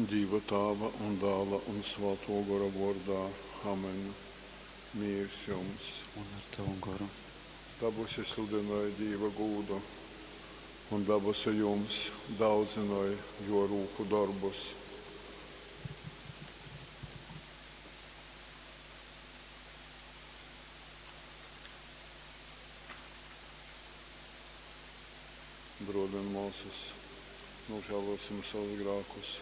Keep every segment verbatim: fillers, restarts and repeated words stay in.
Dīva Tāva un Dāla un Svātō Gora vōrdā. Amen. Mīrs jums! Un ar tavu goru. Dabusi sludynoj Dīva gūdu, un dabasu jums daudzynoj Jō rūku dorbus. Brōli un mōsas, nožēlosim savus grākus,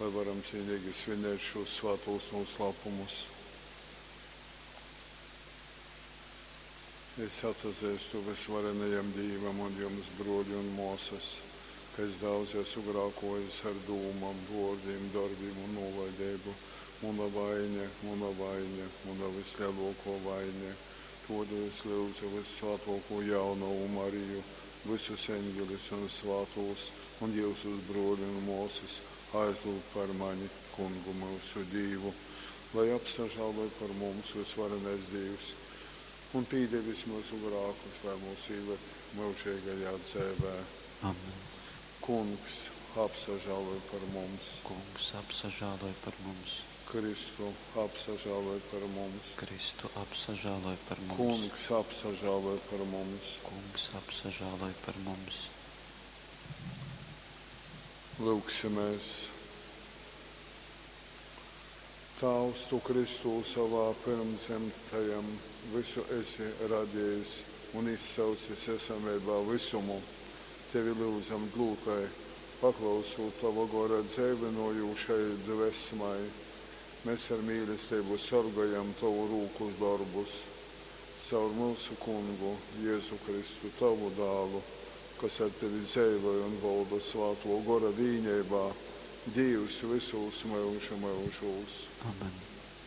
lai varam cīnīgi svinēt šos svātos noslēpumus. Es atsazeistu vysvarenajam Dīvam un jums, brōļi un mōsas, ka es daudz esmu grākōjis ar dūmom, vōrdim, dorbim un nūlaideibu. Muna vaiņa, muna vaiņa, muna vyslelōkō vaiņa. Tōdēļ es lyudzu vyssvātōkū Jaunovu Mariju, vysus eņģeļus un svātūs un jyusus, brōļi un mōsas, aizlyugt par mani Kungu myusu Dīvu, lai apsažāloj par mums vysvarenais Dīvs un pīdevis myusu grākus, lai mūs īved myužeigajā dzeivē. Amen. Kungs, apsažāloj par mums. Kungs, apsažāloj par mums. Kristu, apsažāloj par mums. Kristu, apsažāloj par mums. Kungs, apsažāloj par mums. Kungs, apsažāloj par mums. Lūgsimies. Tāvs, tu Kristū savā pirmdzimtajam visu esi radījis un izsaucis esameibā vysumu. Tevi lyudzam dlūtai, paklausūt tova Gora dzeivynojūšai dvesmai, mes ar mīlesteibu sorgojam tovu rūku dorbus. Caur myusu Kungu, Jezu Kristu, tavu Dālu, kas ar tevi dzeivoj un volda Svātō Gora vīneibā, Dīvs vysūs myužu myužūs. Amen.